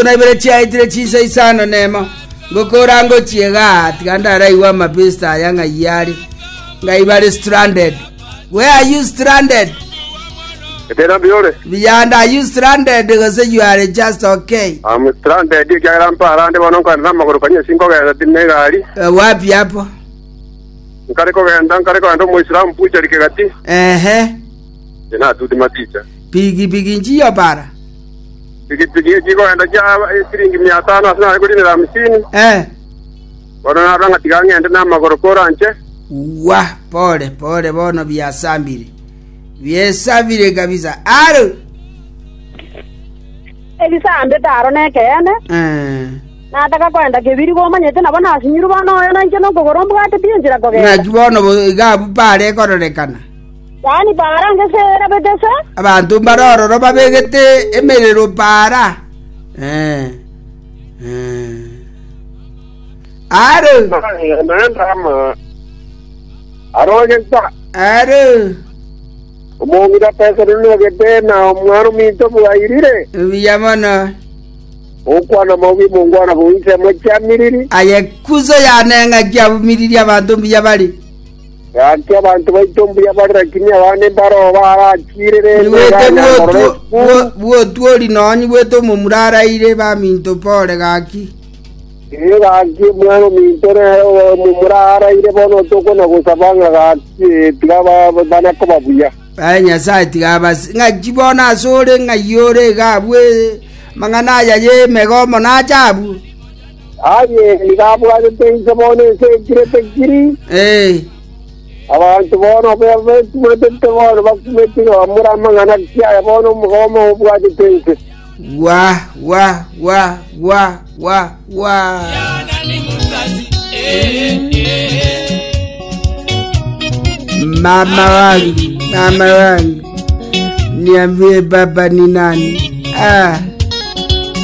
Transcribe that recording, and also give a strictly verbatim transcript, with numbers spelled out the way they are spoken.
Na ibere chiaetire chinsa isano nemo ngokora ngochiega tiga ndaraiwa amapesta aya ng'ai are ng'ai bare stranded. Where are you stranded? Etera mbiore. Beyond, are you stranded gose you are just okay? I'm stranded ekiagera mparande bono nkoenda namagoro kanywa sinkogenda tine egari. Uh, wapi hapo? Nkare kogenda nkare kogenda omoisilamu buchari kegati. Ehe. Natuti maticha. Pigi pigi njiyo para. Pikipiki chikogenda chia siringi mia tano ase nare korinera hamsini. Eh. Bono narora ng'a tiga ng'ende namagoro koranche. Wa pole pole bono byasambire. Byesabire kabisa. Aro. Ebisambe taro nekeene. Eh. Nataka kwenda kebiri gomanyete nabo nasinyiru bono oyo nainche nokogoro mbwate pi enchera kogenda. Ng'aki bono bo- iga pare kororekana. Yaani para ngesera betese. Abanto mbarororo babegete emerero para. Eh. Eh. Aro. Naenda ama arogenta. Aro. Omong'ina pesa nonogete na omwana ominto bwairire. Buya mono. Okwana maobi mongwana boisemo chiamiriri. Aye kuzo yane ng'aki abumiriri abanto mbuya bari. Gaki abanto baito mbuya bari lakini abande mbaro barakirire. Niwete bwotwori nonyi bwete omomura araire baminto pole gaki. Ee gaki omwana ominto nere omomura araire bono tokona gosaba ng'a gaki tiga bana koba buya. Aye Nyasaye tiga basi ng'aki bono ase ore ng'ai ore iga abwo mang'ana aya ye emegomo nacha abwo. Aye iga abwatete inse bono ense ekirete kiri. Eh. Abantu bono betumetete bono bakumete bamura amang'ana kiaya bono omogomo obwatete inse. Wa wa wa wa wa wa. Mama wangu, mama wangu, niambie baba ni nani? Ah.